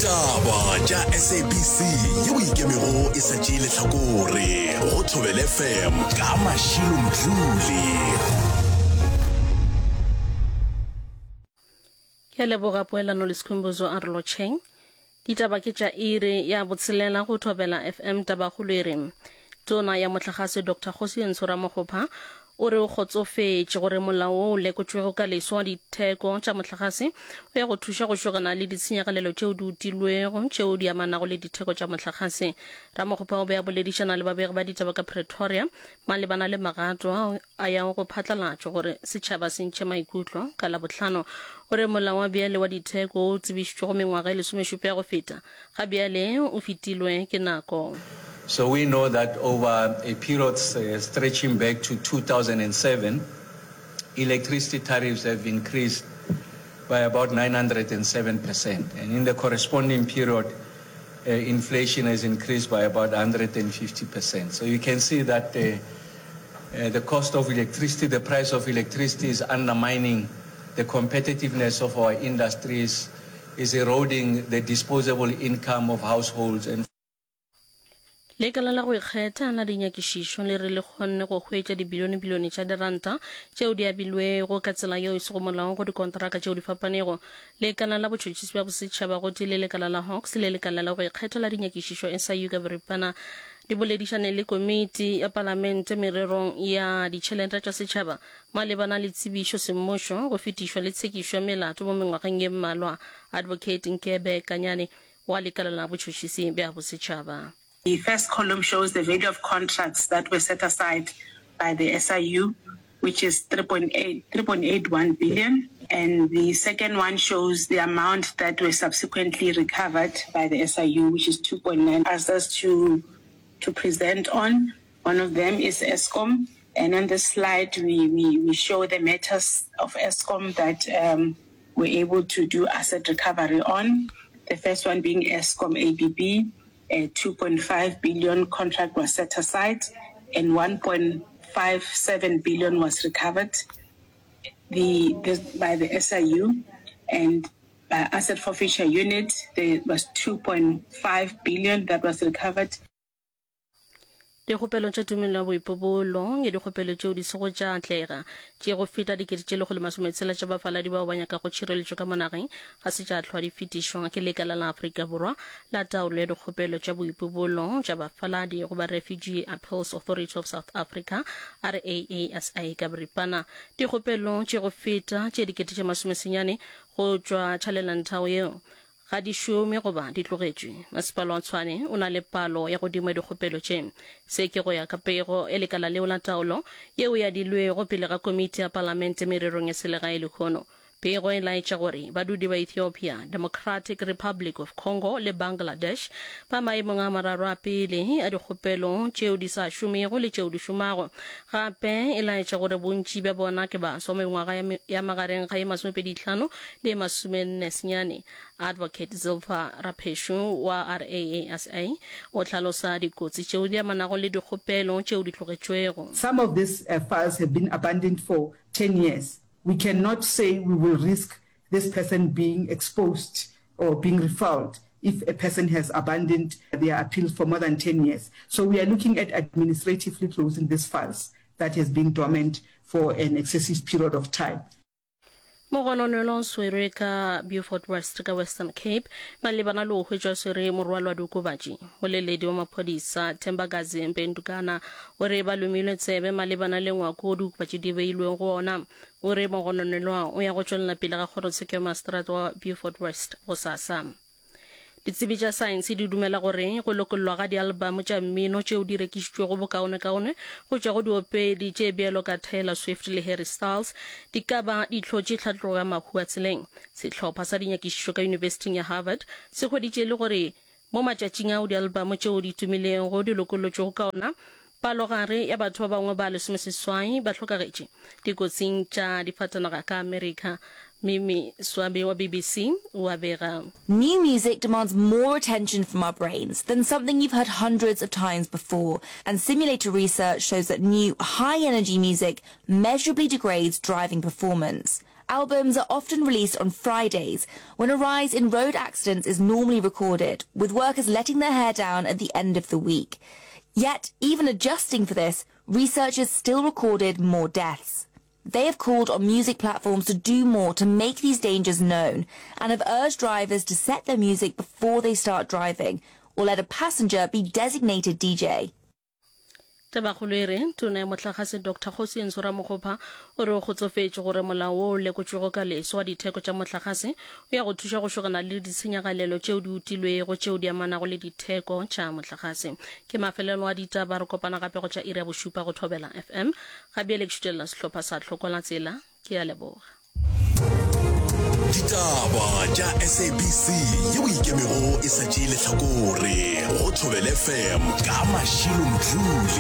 Ditaba tša SABC yeo e ikemego e sa tšee lehlakore go Thobela FM ka Mashilo Mdluli. Ke a leboga Poelano le Skhumbuzo a re lotšheng. Ditaba ke tša iri ya botshelela go Thobela FM Tabakgolo e re Tona ya Mohlagase Doctor Kgosientsho Ramokgopa o re o kgotsofetše gore molao wo o lekotšwego ka leswa wa ditheko tša mohlagase o ya go thuša go šogana le ditshenyagalelo tšeo di utilwego tšeo di amanago le ditheko tša mohlagase. Ramokgopa o be a boledišana le babegi ba ditaba ka Pretoria malebana le magato ao a yago go phatlalatšwa gore setšhaba se ntšhe maikutlo ka Labohlano. O re molao wa bjale wa ditheko wo o tsebišitšwego mengwaga e lesomešupa ya go feta ga bjale o fetilwe ke nako. So we know that over a period stretching back to 2007, electricity tariffs have increased by about 907%. And in the corresponding period, uh, inflation has increased by about 150%. So you can see that uh, uh, the cost of electricity, the price of electricity is undermining the competitiveness of our industries, is eroding the disposable income of households and Lekala la go ikgetha la dinyakišišo le re le kgonne go hwetša dibilionebilione tša diranta tšeo di abilwego ka tsela yeo e sego molaong go dikonteraka tšeo di fapanego. Lekala la Botšhotšhisi bja Bosetšhaba gotee le lekala la Hawks le lekala la go ikgetha la dinyakišišo SIU ka boripana di boledišane le komiti ya palamente mererong ya ditšhelete tša setšhaba Malebana le tsebišo semmušo, go fetišwa le tshekišo ya melato mo mengwageng ye mmalwa, Advocate Nkebe Kanyane wa Lekala la Botšhotšhisi bja Bosetšhaba. The first column shows the value of contracts that were set aside by the SIU, which is 3.8, 3.81 billion, and the second one shows the amount that were subsequently recovered by the SIU, which is 2.9. Asked us to, to present on. One of them is Eskom, and on this slide we, we, we show the matters of Eskom that um, we're able to do asset recovery on. The first one being Eskom ABB, a 2.5 billion contract was set aside and 1.57 billion was recovered the, this, by the SIU and by asset forfeiture unit there was 2.5 billion that was recovered. Dikgopelo tša tumelelo ya boipobolo ke dikgopelo tšeo di sego tša atlega tše go feta dikete tše lekgolo masometshela tša bafaladi bao ba nyakago tšhireletšo ka mo nageng ga se tša hlwa di fetišwa ke Lekala la Afrika Borwa la Taolo ya Dikgopelo tša Boipobolo tša Bafaladi goba Refugee Appeals Authority of South Africa, RAASA ka boripana. Dikgopelo tše go feta tše dikete tše masomesenyane go tšwa tšhalelanthao yeo Ga di šome goba di tlogetšwe. Masepala wa Tshwane o na le palo ya godimo ya dikgopelo tše. Se ke go ya ka pego ya lekala leo la taolo yeo e adilwego pele ga komiti ya palamente mererong ya selegae lehono. Pego e laetša gore badudi ba Ethiopia, Democratic Republic of Congo le Bangladesh ba maemong a mararo a pele a dikgopelo tšeo di sa šomego le tšeo di šomago. Gape e laetša gore bontši bja bona ke baswa mengwaga ya magareng ga ye masomepedihlano le ye masomenne senyane. Advocate Zilpha Rapheshu wa RAASA o hlalosa dikotsi tšeo di amanago le dikgopelo tšeo di tlogetšwego. Some of these files have been abandoned for 10 years. We cannot say we will risk this person being exposed or being refouled if a person has abandoned their appeal for more than 10 years. So we are looking at administratively closing these files that has been dormant for an excessive period of time. Mogononelwa o swerwe ka Beaufort West ka Western Cape malebana le go hwetšwa a swere morwalo wa diokobatši. Moleledi wa maphodisa Thembakazi Mpendukana o re ba lomilwe tsebe malebana le ngwako wo diokobatši di beilwego go ona. O re mogononelwa o ya go tšwelela pele ga kgorotsheko ya maseterata wa Beaufort West gosasa. Ditsebi tša saense di dumela gore go lokollwa ga dialbamo tša mmino tšeo di rekišitšwego bokaonekaone go tšwa go diopedi tše bjalo ka Taylor Swift le Harry Styles di ka ba di hlotše tlhatlogo ya mahu a tseleng. Sehlopha sa dinyakišišo ka Yunibesithing ya Harvard se hweditše e le gore mo matšatšing ao dialbamo tšeo di tumilego di lokollotšwego ka ona, Palogare ya batho ba bangwe ba lesomeseswai ba hlokagetše dikotsing tša difatanaga ka Amerika. Mimi Swabe wa BBC o a bega. New music demands more attention from our brains than something you've heard hundreds of times before, and simulator research shows that new, high-energy music measurably degrades driving performance. Albums are often released on Fridays, when a rise in road accidents is normally recorded, with workers letting their hair down at the end of the week. Yet, even adjusting for this, researchers still recorded more deaths. They have called on music platforms to do more to make these dangers known and have urged drivers to set their music before they start driving or let a passenger be designated DJ. Tabakgolo e re, Tona ya Mohlagase Doctor Kgosientsho Ramokgopa o re o kgotsofetše gore molao wo o lekotšwego ka leso wa ditheko tša mohlagase o ya go thuša go šogana le ditshenyagalelo tšeo di utilwego tšeo di amanago le ditheko tša mohlagase. Ke mafelelo a ditaba, re kopana gape go tša iri ya bošupa go Thobela FM. Ga bjale ke šutelela sehlopha sa Tlhoko la Tsela. Ke a leboga. Ditaba tša SABC yeo ikemego e sa tšee lehlakore go Thobela FM ka Mashilo Mdluli.